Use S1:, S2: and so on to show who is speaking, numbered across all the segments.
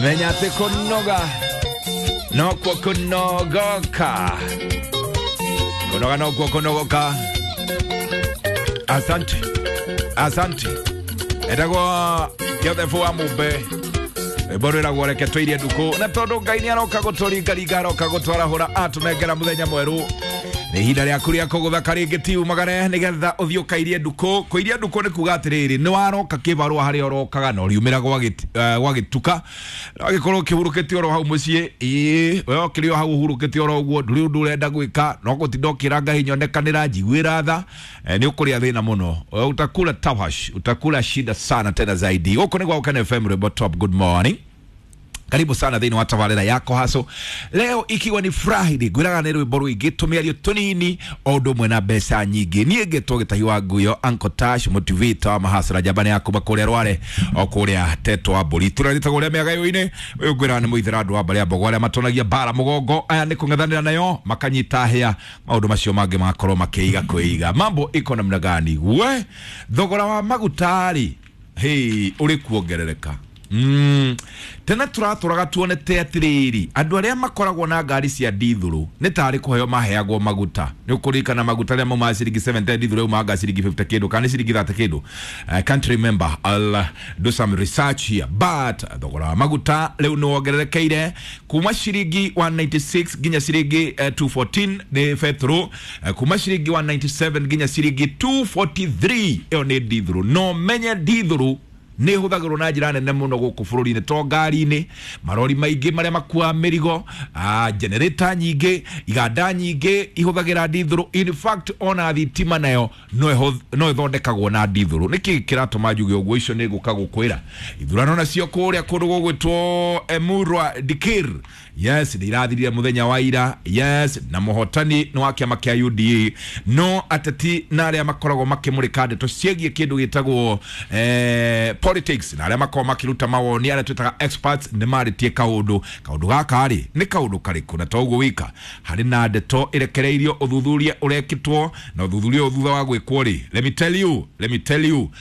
S1: Menya atĩ kũnoga nokuo kũnogoka, kũnoga nokuo kũnogoka. Asante, asante. Etagwo Joseph wa Mumbe, rwĩmbo rwĩragwo reke tũirie ndukũ, na tondũ Ngai nĩ aroka gũtũringaringa, aroka gũtwarahũra, atũnengera mũthenya mwerũ. Nĩ ihinda rĩaku rĩa kũgũtha rĩngĩ ti umagare nĩgetha ũthiĩ ũkairie ndukũ. Kũiria ndukũ nĩ kuga atĩrĩrĩ, nĩ waroka kĩbarũa harĩa ũrokaga na ũriumĩra gwagĩtuka, wagĩkorwo ũkĩhurũkĩte oro hau mũciĩ. Ĩĩ, we ũkĩrĩ o hau ũhurũkĩte oro ũguo, ndũrĩ ũndũ ũrenda gwĩka, no gũtinda ũkĩra Ngai nyonekanĩra, njiguĩra tha. Nĩ ũkũrĩa thĩna mũno. Utakula tawash, utakula shida sana tena zaidi. Gũkũ nĩ gwa Gũkena FM, rwĩmbo top. Good morning, karibu sana thĩinĩ wa tabarĩra yako haso leo, ikiwa ni Friday. Ngwĩraga nĩ rwĩmbo rũingĩ, tũmĩario tũnini o ũndũ ũmwe na mbeca nyingĩ. Niĩ ngĩtwo Gĩtahi wa Nguyo, Uncle Tash, motivator wa mahasara, njamba ya kuma kũrĩa Rware o kũrĩa Tetwa wa Mbũri, tũrarĩtagwo ũrĩa mĩagayo-inĩ. Ũyũ ngwĩraga nĩ mũithĩra andũ a mbarĩ ya Mbogo arĩa matonagia mbara mũgongo, aya nĩ kũng'ethanĩra nayo makanyita hĩa, maũndũ macio mangĩ magakorwo makĩiga kwĩiga. Mambo iko namna gani? We, thogora wa maguta rĩ, hey, ũrĩ kuongerereka. Tene tũratũraga tuonete atĩrĩrĩ, andũ arĩa makoragwo na ngari cia ndithũrũ nĩ tarĩ kũheo maheagwo maguta. Nĩ ũkũririkana maguta arĩa maumaga ciringi 70, ndithũrũ yaumaga ciringi 50 kĩndũ kana nĩ ciringi 30 kĩndũ. I can't remember, I'll do some research here, but thogora wa maguta rĩu nĩ wongererekeire kuma ciringi 196 nginya ciringi 214 nĩ betũrũ, kuma ciringi 197 nginya ciringi 243, ĩyo nĩ ndithũrũ. No menye ndithũrũ nä hũthagĩrwo na njĩra nene mũno gũkũ bũrũri-inĩ, to ngari-inĩ, marori maingĩ marĩa makuaga mĩrigo, generator nyingĩ, iganda nyingĩ ihũthagĩra ndithũrũ. In fact, ona thitima nayo no ĩthondekagwo na ndithũrũ. Nĩkĩ kĩratũma njuge ũguo? Icio nĩ ngũka gũkwĩra. Ithurano nacio kũrĩa kũndũ gũgwĩtwo Emurua Dikir, yes, nĩ irathirire mũthenya wa ira. Yes, na mũhotani nĩ wa kĩama kĩa UDA, no ateti na arĩa makoragwo makĩmũrĩka ndeto ciĩgiĩ kĩndũ gĩtagwo politics na arĩa makoragwo makĩruta mawoni, arĩa twĩtaga experts, nĩ marĩtie kaũndũ. Kaũndũ gaka rĩ, nĩ kaũndũ karĩkũ? Na to ũguo wika, harĩ na ndeto ĩrekereirio ũthuthuria ũrekĩtwo, na ũthuthuria ũyũ thutha wa gwĩkwo rĩ, let me tell you, let me tell you,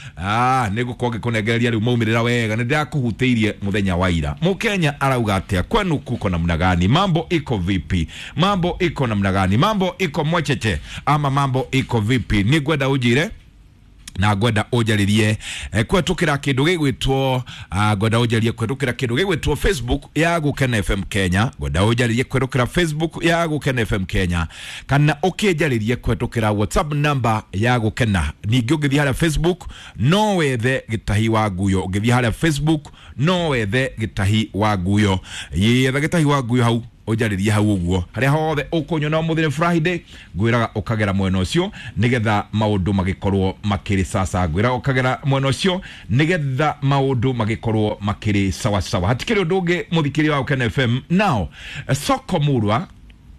S1: nĩ ngũkorwo ngĩkũnengereria rĩu maumĩrĩra wega. Nĩ ndĩrakũhutĩirie mũthenya wa ira. Mũkenya arauga atĩa? Kwenu kuko namna gani? Mambo iko vipi? Mambo iko namna gani? Mambo iko mwecheche ama mambo iko vipi? Nĩ ngwenda ũnjĩre na ngwenda ũnjarĩrie kũhetũkĩra kĩndũ gĩgwĩtwo, ngwenda ũnjarĩrie kũhetũkĩra kĩndũ gĩgwĩtwo Facebook ya Gũkena FM Kenya. Ngwenda ũnjarĩrie kũhetũkĩra Facebook ya Gũkena FM Kenya, kana ũkĩnjarĩrie kũhetũkĩra WhatsApp number ya Gũkena. Ningĩ ũngĩthiĩ harĩa Facebook no wethe Gĩtahi wa Nguyo. Ũngĩthiĩ harĩa Facebook no wethe Gĩtahi wa Nguyo, yetha Gĩtahi wa Nguyo hau, ũnjarĩrie hau ũguo, harĩa hothe ũkũnyona. Ũmũthĩ nĩ Friday, ngwĩraga ũkagera mwena ũcio nĩgetha maũndũ magĩkorwo makĩrĩ sasa. Ngwĩraga ũkagera mwena ũcio nĩgetha maũndũ magĩkorwo makĩrĩ sawa sawa. Hatikĩrĩ ũndũ ũngĩ, mũthikĩria wa Gũkena FM. Now, Soko Murwa,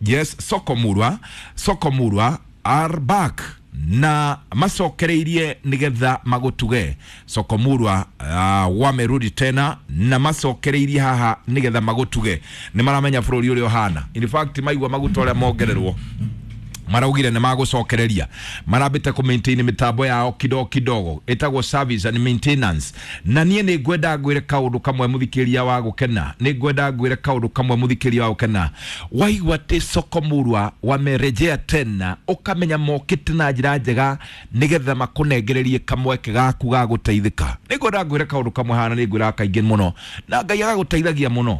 S1: yes, Soko Murwa, Soko Murwa are back na macokereirie nigetha magutuge. Soko Murwa wamerudi tena na macokereirie haha nigetha magutuge. Nĩ maramenya bũrũri ũrĩa ũhana. In fact, maigua maguta ũrĩa mongererwo, maraugire nĩ magũcokereria. Marambĩte kũ maintain mĩtambo yao kidogo kidogo, ĩtagwo service and maintenance. Na niĩ nĩ ngwenda ngwĩre kaũndũ kamwe, mũthikĩria wa Gũkena. Nĩ ngwenda ngwĩre kaũndũ kamwe, mũthikĩria wa Gũkena. Waigua atĩ Soko Murwa wamerejea tena, ũkamenya mokĩte na njĩra njega nĩgetha makũnengererie kamweke gaku ga gũteithĩka. Nĩ ngwenda ngwĩre kaũndũ kamwe hana, nĩ ngwĩraga kaingĩ mũno na Ngai agagũteithagia mũno.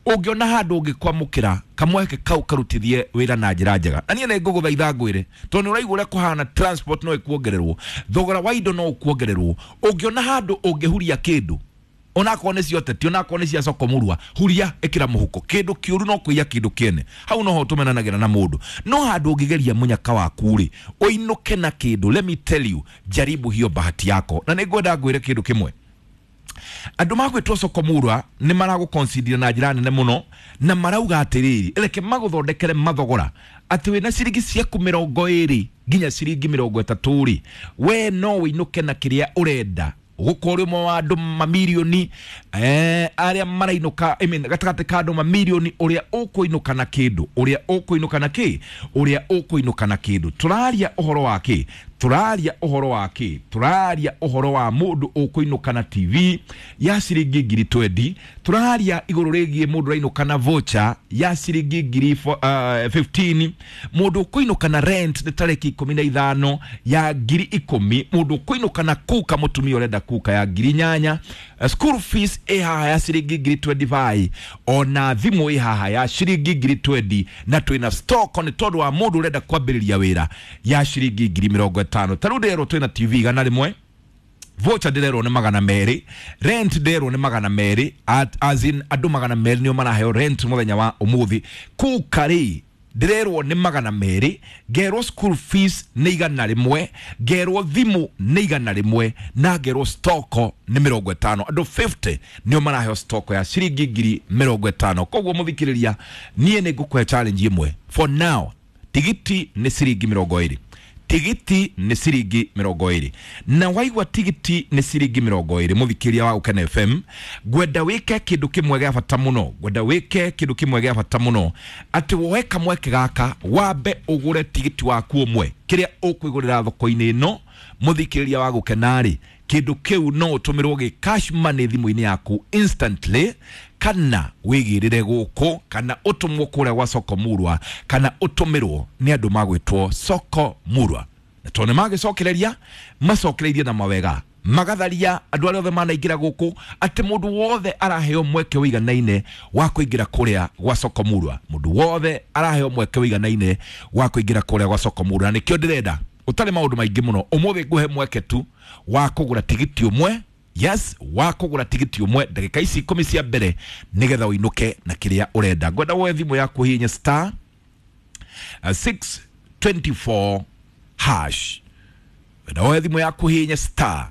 S1: Ũngĩona handũ ũngĩkwamũkĩra kamweke kau, karutithie wĩra na njĩra njega. Na niĩ nĩ ngũgũthaitha ngwĩre, tondũ nĩ ũraigua ũrĩa kũhana, transport no ĩkuongererwo, thogora wa indo no ũkuongererwo. Ũngĩona handũ ũngĩhuria kĩndũ, onakorwo nĩ cia ũteti, onakorwo nĩ cia Soko Murwa, huria, ĩkĩra mũhuko. Kĩndũ kĩũru no kũiya kĩndũ kĩene, hau noho tũmenanagĩra na mũndũ. No handũ ũngĩgeria mũnyaka waku rĩ, ũinũke na kĩndũ, let me tell you, jaribu hiyo bahati yako. Na nĩ ngwenda ngwĩre kĩndũ kĩmwe, andũ magwĩtwo Soko Murwa nĩ maragũconsider na njĩra nene mũno, na marauga atĩrĩrĩ, reke magũthondekere mathogora atĩ wĩna ciringi ciaku 20 nginya ciringi 30 rĩ, we no wĩinũke na kĩrĩa ũrenda, gũkorwo ũrĩ ũmwe wa andũ mamirioni. Arĩa marainũka, I mean, gatagatĩ ka andũ mamirioni ũrĩa ũkũinũka na kĩndũ, ũrĩa ũkũinũka na kĩ, ũrĩa ũkũinũka na kĩndũ. Tũraria ũhoro wa kĩ? Tũraria ũhoro wa kĩ? Tũraria ũhoro wa mũndũ ũkũinũka na TV ya ciringi ngiri 20. Tũraria igũrũ rĩgiĩ mũndũ ũrainũka na voucher ya ciringi ngiri 15. Mũndũ ũkũinũka na rent nĩ tarĩki 15 ya ngiri 10. Mũndũ ũkũinũka na kuka, mũtumia ũrenda kuka ya ngiri 8. School fees ĩ haha ya ciringi ngiri 25, ona thimũ ĩ haha ya ciringi ngiri 20, na twĩna stock nĩ tondũ wa mũndũ ũrenda kwambĩrĩria wĩra ya ciringi ngiri 50. Ta rĩu ndĩrerwo twĩna TV 100, voucher ndĩrerwo nĩ 200, rent ndĩrerwo nĩ 200, as in andũ 200 nĩo maraheo rent mũthenya wa ũmũthĩ. Kuka rĩ ndĩrerwo nĩ 200, ngerwo school fees nĩ 100, ngerwo thimũ nĩ 100, na ngerwo stock nĩ 50. Andũ 50 nĩo maraheo stock ya ciringi ngiri 50. Koguo mũthikĩrĩria, niĩ nĩ ngũkũhe challenge ĩmwe for now. Tigiti nĩ ciringi 20, tigiti nĩ ciringi 20, na waigua tigiti nĩ ciringi 20, mũthikĩria wa Gũkena FM, ngwenda wĩke kĩndũ kĩmwe gĩa bata mũno, ngwenda wĩke kĩndũ kĩmwe gĩa bata mũno, atĩ woe kamweke gaka wambe ũgũre tigiti waku ũmwe. Kĩrĩa ũkwĩgũrĩra thoko-inĩ ĩno, mũthikĩrĩria wa Gũkena rĩ, kĩndũ kĩu no ũtũmĩrwo gĩ cash money thimũ-inĩ yaku instantly, kana wĩgĩrĩre gũkũ, kana ũtũmwo kũrĩa gwa Soko Murwa, kana ũtũmĩrwo nĩ andũ magwĩtwo Soko Murwa. Na tondũ nĩmagĩcokereria, macokereirie na mawega, magatharia andũ arĩa othe manaingĩra gũkũ, atĩ mũndũ wothe araheo mweke ũiganaine wa kũingĩra kũrĩa gwa Soko Murwa. Mũndũ wothe araheo mweke ũiganaine wa kũingĩra kũrĩa gwa Soko Murwa. Na nĩkĩo ndĩrenda ũtarĩ maũndũ maingĩ mũno ũmũthĩ, ngũhe mweke tu wa kũgũra tigiti ũmwe. Yes, wa kũgũra tigiti ũmwe ndagĩka ici 10 cia mbere, nĩgetha ũinũke na kĩrĩa ũrenda. Ngwenda woe thimũ yaku, hihinya star 624 hash. Ngwenda woe thimũ yaku, hihinya star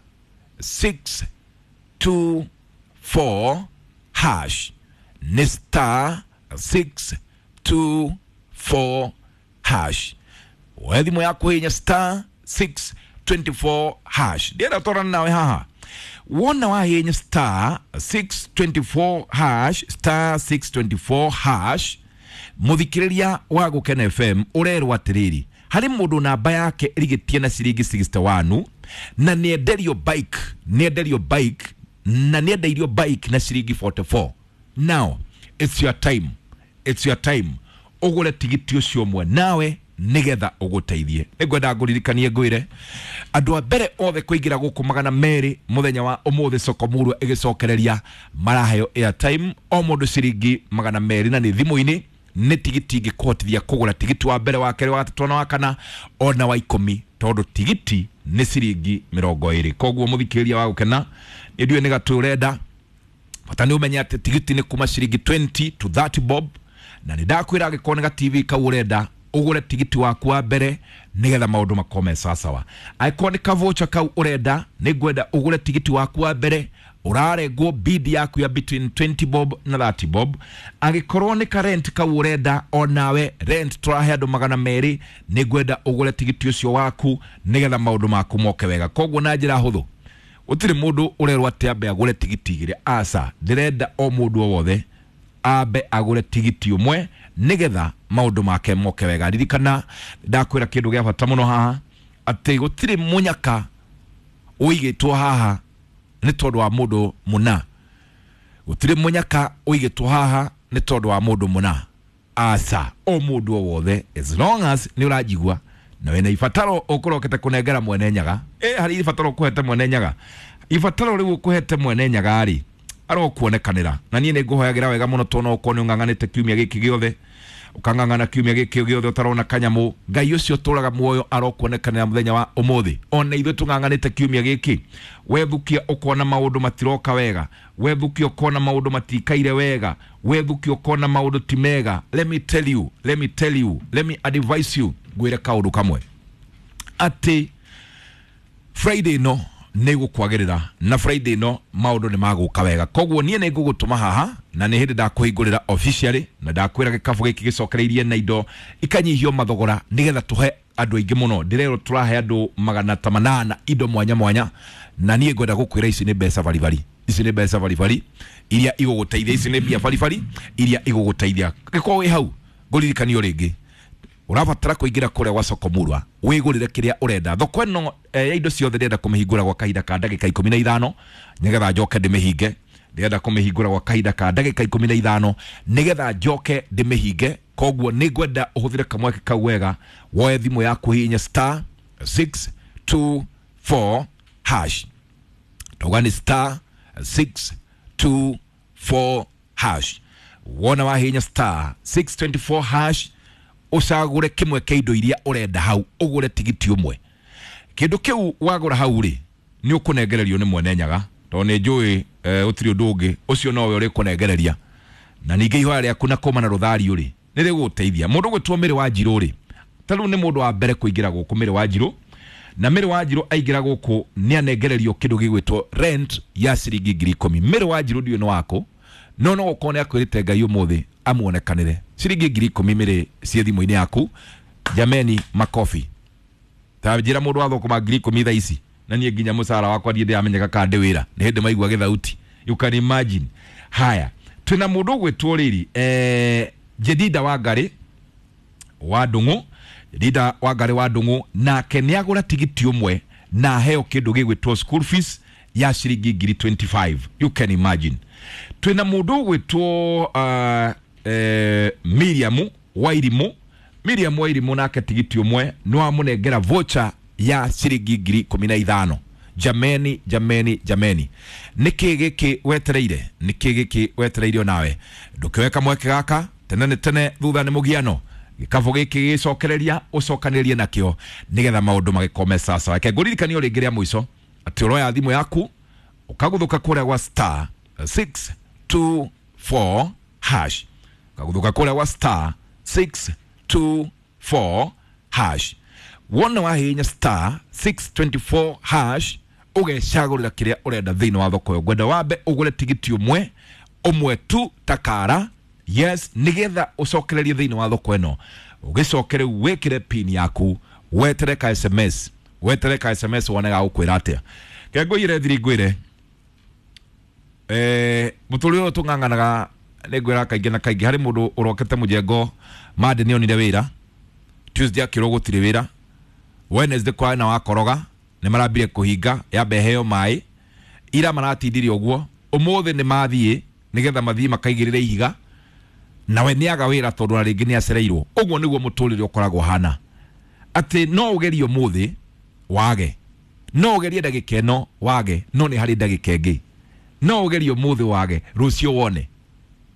S1: 624 hash, nĩ star 624 hash. Woe thimũ yaku, hihinya star 624 hash. Ndienda twarana nawe haha. Wona wahihinya star 624 hash, star 624 hash, mũthikĩrĩria wa Gũkena FM, ũrerwo atĩrĩrĩ, harĩ mũndũ namba yake ĩrigĩtie na ciringi 61, na nĩenderio bike, nĩenderio bike, na nĩendeirio bike na ciringi 44. Now it's your time, it's your time ũgũre tigiti ũcio ũmwe nawe nĩgetha ũgũteithie. Nĩngwenda ngũririkanie ngwĩre andũ a mbere othe kũingĩra gũkũ 200 mũthenya wa ũmũthĩ, Soko Murwa ĩgĩcokereria, maraheo airtime o mũndũ ciringi 200, na nĩ thimũ-inĩ, nĩ tigiti ingĩkũhotithia kũgũra tigiti wa mbere, wa kerĩ, wa gatatũ, na wa kana, ona wa 10, tondũ tigiti nĩ ciringi 20. Koguo mũthikĩrĩria wa Gũkena, nĩ ndiũĩ nĩ gatũ ũrenda, bata nĩ ũmenye atĩ tigiti nĩ kuma ciringi 20 to 30 bob, na nĩ ndakwĩra angĩkorwo nĩ ga TV kau ũrenda, ũgũre tigiti waku wa mbere nĩgetha maũndũ makorwo me sawasawa. Angĩkorwo nĩ kavocha kau ũrenda, nĩ ngwenda ũgũre tigiti waku wa mbere, ũrarengwo bid yaku ya between 20 bob na 30 bob. Angĩkorwo nĩ ka rent kau ũrenda, onawe rent tũrahe andũ 200, nĩ ngwenda ũgũre tigiti ũcio waku nĩgetha maũndũ maku moke wega. Koguo na njĩra hũthũ, gũtirĩ mũndũ ũrerwo atĩ ambe agũre tigiti igĩrĩ, aca, ndĩrenda o mũndũ o wothe ambe agũre tigiti ũmwe nĩgetha maũndũ make moke wega. Ririkana ndakwĩra kĩndũ gĩa bata mũno haha, atĩ gũtirĩ mũnyaka ũigĩtwo haha nĩ tondũ wa mũndũ mũna, gũtirĩ mũnyaka ũigĩtwo haha nĩ tondũ wa mũndũ mũna, aca, o mũndũ o wothe, as long as nĩ ũranjigua na wĩna ibataro ũkũrokete kũnengera Mwene Nyaga, harĩ ibataro ũkũhete Mwene Nyaga, ibataro rĩu ũkũhete Mwene Nyaga rĩ, arokuonekanĩra. Na niĩ nĩ ngũhoyagĩra wega mũno, tondũ no ũkorwo nĩ ũng'ang'anĩte kiumia gĩkĩ gĩothe, ũkang'ang'ana kiumia gĩkĩ gĩothe ũtarona kanyamũ, Ngai ũcio ũtũraga muoyo arokuonekanĩra mũthenya wa ũmũthĩ. Ona ithuĩ tũng'ang'anĩte kiumia gĩkĩ, wethukia ũkona maũndũ matiroka wega, wethukia ũkona maũndũ matikaire wega, wethukia ũkona maũndũ ti mega. Let me tell you, let me tell you, let me advise you, ngwĩre kaũndũ kamwe, atĩ Friday no nĩ gũkwagĩrĩra, na Friday no maũndũ nĩ magũka wega. Koguo niĩ nĩ ngũgũtũma haha, na nĩ hĩndĩ ndakũhingũrĩra officially, na ndakwĩra gĩkabũ gĩkĩ gĩcokereirie na indo ikanyihio mathogora nĩgetha tũhe andũ aingĩ mũno. Ndĩrerwo tũrahe andũ 800 indo mwanya mwanya, Na niĩ ngwenda gũkwĩra ici nĩ mbeca baribari, ici nĩ mbeca baribari iria igũgũteithia, ici nĩ mbia baribari iria igũgũteithia. Gĩkorwo wĩ hau ngũririkanio rĩngĩ, ũrabatara kũingĩra kũrĩa gwa Soko Murwa wĩgũrĩre kĩrĩa ũrenda. Thoko ĩno ya indo ciothe ndĩrenda kũmĩhingũra gwa kahinda ka ndagĩka 15 nĩgetha njoke ndĩmĩhinge. Ndĩrenda kũmĩhingũra gwa kahinda ka ndagĩka 15 nĩgetha njoke ndĩmĩhinge. Koguo nĩ ngwenda ũhũthĩre kamweke kau wega, woe thimũ yaku hihinye star 624 hash. Tauga nĩ star 624 hash. Wona wahihinya star 624 hash, ũcagũre kĩmwe kĩa indo iria ũrenda hau, ũgũre tigiti ũmwe. Kĩndũ kĩu wagũra hau rĩ, nĩ ũkũnengererio nĩ mwene nyaga, tondũ nĩ njũĩ gũtirĩ ũndũ ũngĩ, ũcio nowe ũrĩkũnengereria. Na ningĩ ihoya rĩaku na kũma na rũthario rĩ, nĩ rĩgũgũteithia. Mũndũ ũgwĩtwo Mĩrĩ wa Njirũ rĩ, ta rĩu nĩ mũndũ wa mbere kũingĩra gũkũ, Mĩrĩ wa Njirũ. Na Mĩrĩ wa Njirũ aingĩra gũkũ nĩ anengererio kĩndũ gĩgwĩtwo rent ya ciringi 10,000. Mĩrĩ wa Njirũ ndiũĩ nĩ wakũ, no no gũkorwo nĩ akwĩrĩte Ngai ũmũthĩ amuonekanĩre. Ciringi 10,000 mĩrĩ ciĩ thimũ-inĩ yaku. Jameni, makofi. Ta njĩra mũndũ wa thũkũma 10,000 thaa ici, na niĩ nginya mũcara wakwa ndiĩ ndĩramenyeka kana ndĩ wĩra, nĩ hĩndĩ maigua gĩthauti. You can imagine. Haya, twĩna mũndũ ũgwĩtwo rĩrĩ, Jedida Wangari wa Ndung'u. Jedida Wangari wa Ndung'u nake nĩ agũra tigiti ũmwe na aheo kĩndũ gĩgwĩtwo school fees ya ciringi 25,000. You can imagine. Twĩna mũndũ ũgwĩtwo Miriam Wairimu. Miriam Wairimu nake tigiti ũmwe nĩ wamũnengera voucher ya ciringi 15,000. Jameni, jameni, jameni, nĩkĩ gĩkĩ wetereire? Nĩkĩ gĩkĩ wetereire onawe? Ndũkĩoe kamweke gaka tene nĩ tene, thutha nĩ mũgiano. Gĩkabũ gĩkĩ gĩcokereria ũcokanĩrĩrie nakĩo nĩgetha maũndũ magĩkome sasa. Reke ngũririkanio rĩngĩ rĩa mũico atĩ ũroya thimũ yaku ũkagũthũka kũrĩa gwa star 624 hash, ũkagũthũka kũrĩa gwa star 624 hash. Wona wahihinya star 624 hash ũgecagũrĩra kĩrĩa ũrenda thĩinĩ wa thoko ĩyo. Ngwenda wambe ũgũre tigiti ũmwe ũmwe tu takara, yes, nĩgetha ũcokererie thĩinĩ wa thoko ĩno. Ũgĩcoke rĩu wĩkĩre pin yaku, wetere ka SMS, wetere ka SMS wone gagũkwĩra atĩa. Ke ngũire thiri ngwĩre, mũtũrĩre ũyũ tũng'ang'anaga nĩ ngwĩra kaingĩ na kaingĩ. Harĩ mũndũ ũrokete mũjengo Monday nĩ onire wĩra, Tuesday akĩrwo gũtirĩ wĩra, Wednesday kwa na wakoroga nĩ marambire kũhinga yambe heo maĩ, ira maratindirie ũguo, ũmũthĩ nĩ mathiĩ nĩgetha mathiĩ makaigĩrĩre ihiga, nawe nĩ aga wĩra tondũ na rĩngĩ nĩ acereirwo. Ũguo nĩguo mũtũrĩre ũkoragwo hana, atĩ no ũgerie ũmũthĩ wage, no ũgerie ndagĩka ĩno wage, no nĩ harĩ ndagĩka ĩngĩ, no ũgerie ũmũthĩ wage, rũciũ wone.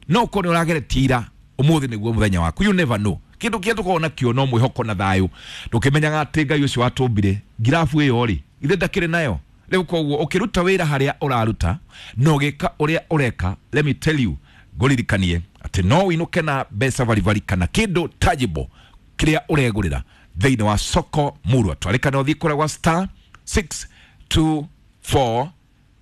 S1: No ũkorwo nĩ ũrageretie ira, ũmũthĩ nĩguo mũthenya waku. You never know. Kĩndũ kĩrĩa tũkoragwo nakĩo no mwĩhoko na thayũ, ndũkĩmenyaga atĩ Ngai ũcio watũmbire ngirabu ĩyo rĩ, ithe ndakĩrĩ nayo. Rĩu koguo ũkĩruta wĩra harĩa ũraruta na ũgĩka ũrĩa ũreka, let me tell you, ngũririkanie atĩ no ũinũke na mbeca baribari kana kĩndũ tangible kĩrĩa ũregũrĩra thĩinĩ wa Soko Murwa. Twarĩkana ũthiĩ kũrĩa gwa star 624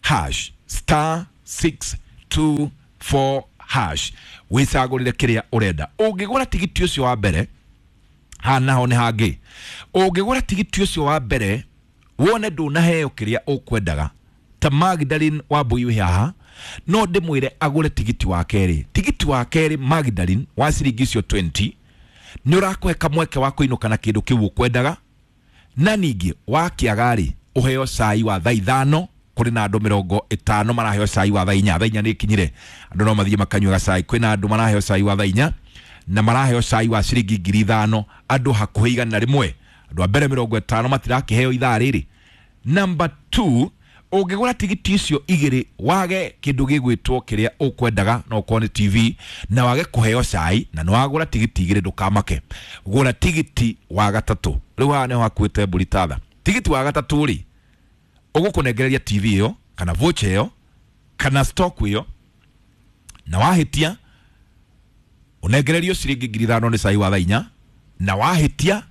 S1: hash, star 624 hash, wĩcagũrĩre kĩrĩa ũrenda. Ũngĩgũra tigiti ũcio wa mbere, haha naho nĩ hangĩ, ũngĩgũra tigiti ũcio wa mbere wone ndũnaheo kĩrĩa ũkwendaga, ta Magdalene wa Mbui wĩ haha, no ndĩmwĩre agũre tigiti wa kerĩ. Tigiti wa kerĩ Magdalene wa ciringi icio 20 nĩ ũrakũhe kamweke wa kũinũka na kĩndũ kĩu ũkwendaga, na ningĩ wakĩaga rĩ, ũheo cai wa thaa 5. Kũrĩ na andũ 50 maraheo cai wa thaa 4. Thaa 4 nĩ ikinyire, andũ no mathiĩ makanyue gacai. Kwĩna andũ maraheo cai wa thaa 4 na maraheo cai wa ciringi 5,000, andũ hakuhĩ 100. Andũ a mbere 50 matirakĩheo ithaa rĩrĩ. Number 2, ũngĩgũra tigiti icio igĩrĩ wage kĩndũ gĩgwĩtwo kĩrĩa ũkwendaga, no ũkorwo nĩ TV, na wage kũheo cai, na nĩ wagũra tigiti igĩrĩ, ndũkamake. Gũra tigiti wa gatatũ. Rĩu haha nĩho hakuĩte mbũri tatha. Tigiti wa gatatũ rĩ, ũgũkũnengereria TV ĩyo kana voucher ĩyo kana stock ĩyo, na wahĩtia ũnengererio ciringi 5,000 nĩ cai wa thaa 4, na wahĩtia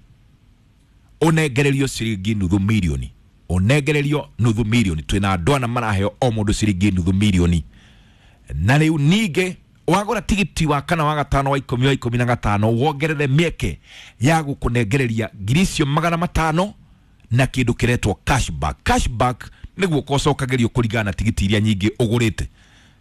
S1: ũnengererio ciringi nuthu mirioni, ũnengererio nuthu mirioni. Twĩna andũ ana maraheo o mũndũ ciringi nuthu mirioni. Na rĩu ningĩ wagũra tigiti wa kana wa gatano wa 10 wa 15, wongerere mĩeke ya gũkũnengereria 500,000 na kĩndũ kĩretwo cashback. Cashback Nĩ guoko ũcokagĩrio kũringana na tigiti iria nyingĩ ũgũrĩte.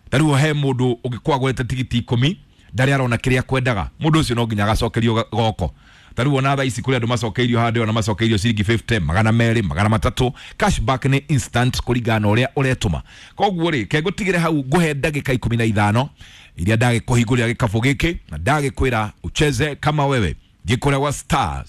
S1: Ta rĩu he mũndũ ũngĩkorwo agũrĩte tigiti 10 ndarĩ arona kĩrĩa kwendaga, mũndũ ũcio no nginya agacokerio goko. Ta rĩu ona thaa ici kũrĩ andũ macokeirio handũ ona macokeirio ciringi 50, 200, 300. Cashback nĩ instant kũringana na ũrĩa ũretũma. Koguo rĩ, ke ngũtigĩre hau, ngũhe ndagĩka 15 iria ndagĩkũhingũrĩra gĩkabũ gĩkĩ na ndagĩkwĩra ucheze kama wewe. Thiĩ kũrĩa gwa star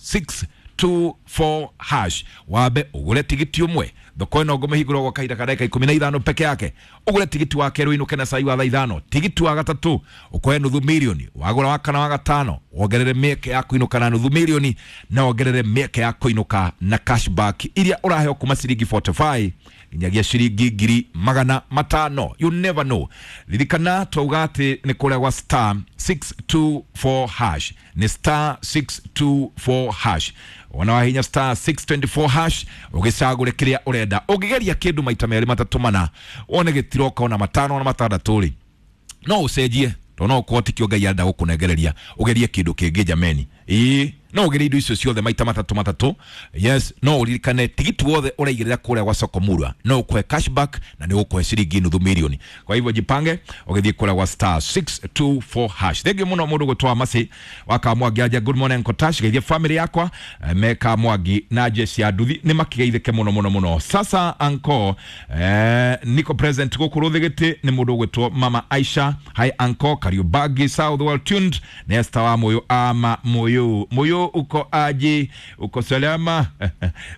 S1: 624 hash, wambe ũgũre tigiti ũmwe. Thoko ĩno ngũmĩhingũra gwa kahinda ka ndagĩka 15 peke yake. Ũgũre tigiti wa kerĩ ũinũke na cai wa thaa 5, tigiti wa gatatũ ũkoe nuthu mirioni, wagũra wa kana wa gatano wongerere mĩeke ya kũinũka na nuthu mirioni, na wongerere mĩeke ya kũinũka na cashback iria ũraheo kuma ciringi 45 nginyagia ciringi 500,000. You never know. Ririkana twauga atĩ nĩ kũrĩa gwa star 624 hash, nĩ star 624 hash. Wona wahinya star 624 hash ũgĩcagũre kĩrĩa ũrenda. Ũngĩgeria kĩndũ maita merĩ matatũ mana wone gĩtiroka ona 5 ona 6 rĩ, no ũcenjie, tondũ no ũkorwo tikĩo Ngai arenda gũkũnengereria ũgerie kĩndũ kĩngĩ jameni. Ĩĩ, no ũgerie indo icio ciothe maita matatũ matatũ. Yes, no ũririkane tigiti wothe ũraigĩrĩra kũrĩa gwa Soko Murwa no ũkũhe cashback na nĩ ũkũhe ciringi nuthu mirioni. Kwa hivyo jipange ũgĩthiĩ kũrĩa gwa star 624 hash. Thengiũ mũno mũndũ gwĩtwa Masi wa Kamwangi anja, good morning Kotash, geithie family yakwa me Kamwangi na jeshi ya nduthi nĩ makĩgeithĩke mũno mũno mũno. Sasa anko niko present gũkũ Rũthĩgĩtĩ nĩ mũndũ ũgwĩtwo Mama Aisha. Hi anko, Kariobagi South, well tuned. Nĩ Esther wa Moyo ama Moyo Moyo, uko aje? Uko salama?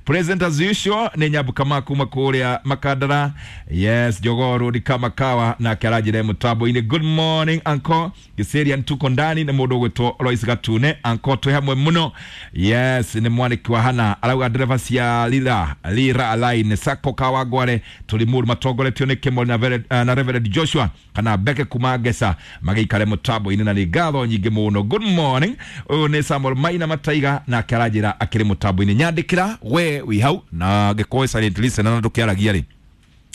S1: Present as usual nĩ Nyambuka kuma kũrĩa Makandara. Yes, Jogoo Road kama kawa na karanjire mũtambo-inĩ. Good morning anko, Gĩcĩria tuko ndani nĩ mũndũ ũgwĩtwo Lois Gatune. Anko twĩ hamwe mũno. Yes, nĩ mwanĩki wa Hana arauga ndereba cia Lira Lira Line Sacco Kawangware tũrĩ mũru matongoretio nĩ Kimoli na Reverend Joshua kana Beke kuma Ngesa magĩikare mũtambo-inĩ na nĩ ngatho nyingĩ mũno. Good morning, ũyũ nĩ Samuel Maina Mataiga nake aranjĩra akĩrĩ mũtambo-inĩ. Nyandĩkĩra we wĩ hau na ngĩkorwo silent listener na ndũkĩaragia rĩ,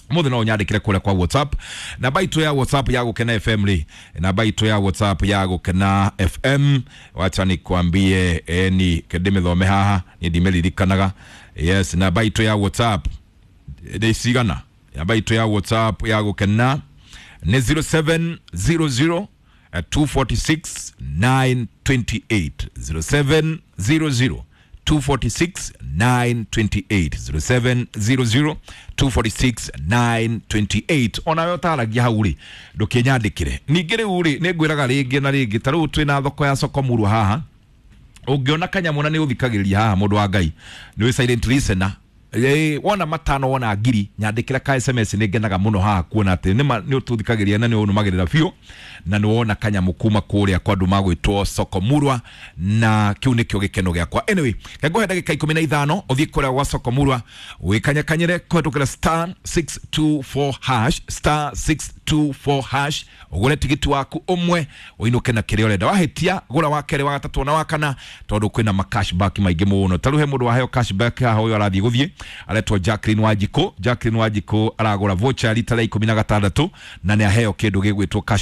S1: mũthĩ no ũnyandĩkĩre kũrĩa kwa WhatsApp, namba itũ ya WhatsApp ya Gũkena FM rĩ, namba itũ ya WhatsApp ya Gũkena FM, wacha nikwambie, ni ndĩmĩthome haha niĩ ndimĩririkanaga. Yes, namba itũ ya WhatsApp nĩ cigana? Namba itũ ya WhatsApp ya Gũkena nĩ 0700 246 928, 0700 246 928, 0700 246 928. Onawe ũtaragia hau rĩ, ndũkĩnyandĩkĩre. Ningĩ rĩu rĩ, nĩ ngwĩraga rĩngĩ na rĩngĩ, ta rĩu twĩna thoko ya Soko Murwa haha, ũngĩona kanyamũ na nĩ ũthikagĩrĩria haha, mũndũ wa Ngai nĩ wĩ silent listener. Wona 5 wona 1000, nyandĩkĩra ka SMS. Nĩ ngenaga mũno haha kuona atĩ nĩ ũtũthikagĩrĩria na nĩ ũnũmagĩrĩra biũ na nĩ wona kanyamũ kuma kũrĩa kwa andũ magwĩtwo Soko Murwa, na kĩu nĩkĩo gĩkeno gĩakwa. Anyway, ngũhe ndagĩka 15 ũthiĩ kũrĩa gwa Soko Murwa wĩkanyakanyĩre kũhetũkĩra star 624 hash, star 624 hash, ũgũre tigiti waku ũmwe ũinũke na kĩrĩa ũrenda. Wahĩtia gũra wa kerĩ, wa gatatũ na wa kana, tondũ kwĩna ma cashback maingĩ mũno. Ta rĩu he mũndũ waheo cashback haha, ũyũ arathiĩ gũthiĩ aretwo Jacqueline Wanjikũ. Jacqueline Wanjikũ aragũra voucher rita rĩa 16 na nĩ aheo kĩndũ gĩgwĩtwo cash